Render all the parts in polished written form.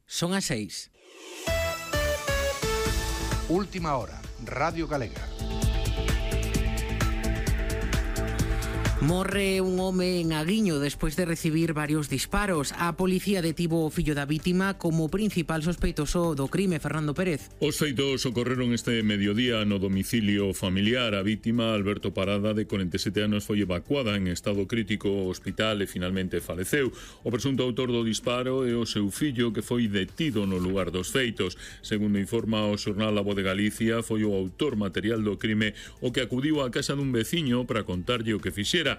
Son as 6. Última hora, Radio Galega. Morre un home en Aguiño despois de recibir varios disparos. A policía detivo o fillo da vítima como principal sospeitoso do crime, Fernando Pérez. Os feitos ocorreron este mediodía no domicilio familiar. A vítima, Alberto Parada, de 47 anos, foi evacuada en estado crítico ao hospital e finalmente faleceu. O presunto autor do disparo é o seu fillo, que foi detido no lugar dos feitos. Segundo informa o xornal La Voz de Galicia, foi o autor material do crime o que acudiu á casa dun veciño para contarlle o que fixera.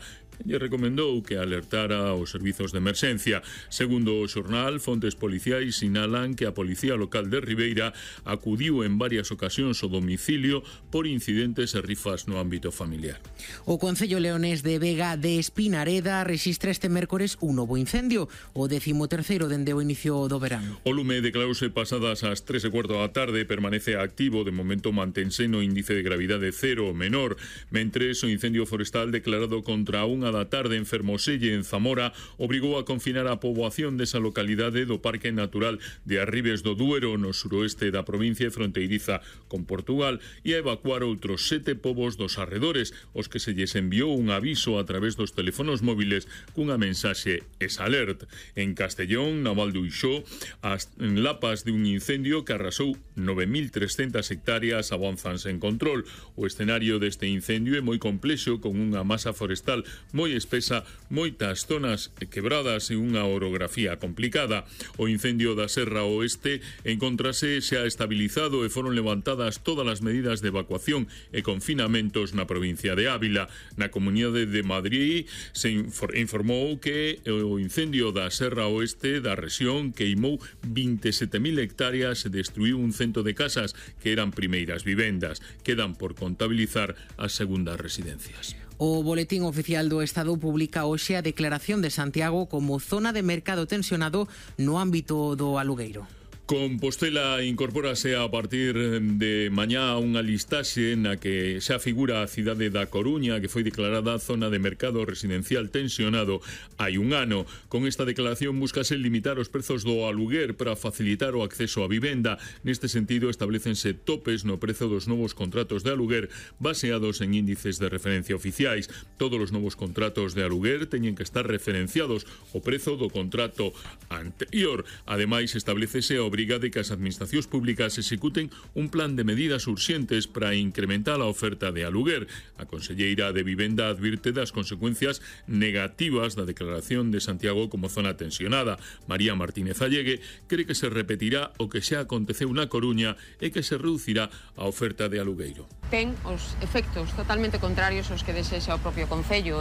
Lle recomendou que alertara aos servizos de emerxencia. Segundo o xornal, fontes policiais sinalan que a Policía Local de Ribeira acudiu en varias ocasións ao domicilio por incidentes e rifas no ámbito familiar. O Concello leonés de Vega de Espinareda rexistra este mércores un novo incendio, o 13º dende o inicio do verán. O lume declarouse pasadas as 3:15 da tarde, permanece activo, de momento mantense no índice de gravidade cero ou menor, mentres o incendio forestal declarado contra a 1 da tarde en Fermoselle, en Zamora, obrigou a confinar a poboación desa localidade do Parque Natural de Arribes do Duero, no suroeste da provincia e fronteiriza con Portugal, e a evacuar outros 7 pobos dos arredores, os que se lles enviou un aviso a través dos teléfonos móviles cunha mensaxe SALERT. En Castellón, na Val do Uixó, as lapas de un incendio que arrasou 9.300 hectáreas avanzanse en control. O escenario deste incendio é moi complexo, con unha masa forestal moi espesa, moitas zonas quebradas e unha orografía complicada. O incendio da Serra Oeste encontrase xa estabilizado e foron levantadas todas as medidas de evacuación e confinamentos na provincia de Ávila. Na Comunidade de Madrid se informou que o incendio da Serra Oeste da rexión queimou 27.000 hectáreas e destruiu un cento de casas que eran primeiras vivendas. Quedan por contabilizar as segundas residencias. O Boletín Oficial do Estado publica hoxe a declaración de Santiago como zona de mercado tensionado no ámbito do alugueiro. Compostela incorpórase a partir de mañá a unha listaxe na que xa figura a cidade da Coruña, que foi declarada zona de mercado residencial tensionado hai un ano. Con esta declaración buscase limitar os prezos do aluguer para facilitar o acceso á vivenda. Neste sentido, establecense topes no prezo dos novos contratos de aluguer baseados en índices de referencia oficiais. Todos os novos contratos de aluguer teñen que estar referenciados ao prezo do contrato anterior. Ademais, establecese a obriga de que as administracións públicas executen un plan de medidas urxentes para incrementar a oferta de aluguer. A conselleira de Vivenda advirte das consecuencias negativas da declaración de Santiago como zona tensionada. María Martínez Allegue cree que se repetirá o que xa aconteceu na Coruña e que se reducirá a oferta de alugueiro. Ten os efectos totalmente contrarios aos que desexa o propio Concello.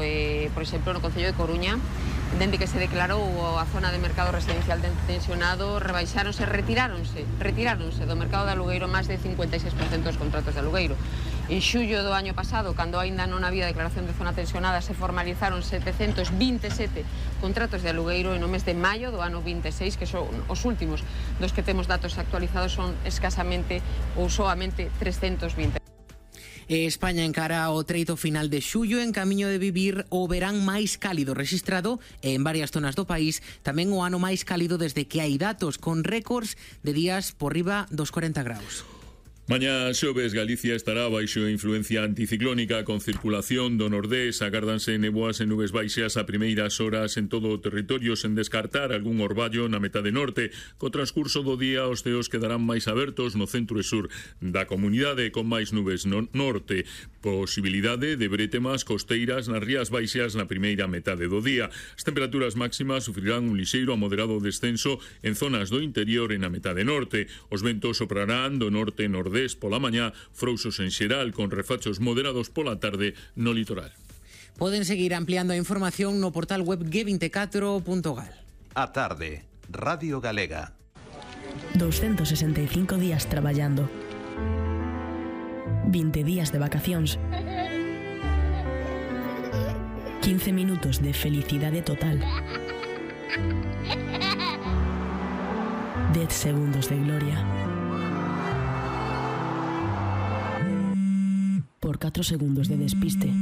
Por exemplo, no Concello de Coruña, dende que se declarou a zona de mercado residencial tensionado, retiráronse do mercado de alugueiro máis de 56% dos contratos de alugueiro. En xullo do año pasado, cando aínda non había declaración de zona tensionada, se formalizaron 727 contratos de alugueiro, e no mes de maio do ano 26, que son os últimos dos que temos datos actualizados, son escasamente ou soamente 320. España encara o treito final de xullo en camiño de vivir o verán máis cálido rexistrado en varias zonas do país, tamén o ano máis cálido desde que hai datos, con récords de días por riba dos 40 graus. Mañá xoves Galicia estará baixo influencia anticiclónica con circulación do nordés. Agárdanse neboas e nubes baixas a primeiras horas en todo o territorio, sen descartar algún orballo na metade norte. Co transcurso do día os ceos quedarán máis abertos no centro e sur da comunidade, con máis nubes no norte. Posibilidade de brétemas costeiras nas rías baixas na primeira metade do día. As temperaturas máximas sufrirán un lixeiro a moderado descenso en zonas do interior e na metade norte. Os ventos soprarán do norte e nordeste pola mañá, frouxos en xeral, con refachos moderados pola tarde no litoral. Poden seguir ampliando a información no portal web g24.gal. A tarde, Radio Galega. 265 días traballando. 20 días de vacacións. 15 minutos de felicidade total. 10 segundos de gloria. Por 4 segundos de despiste.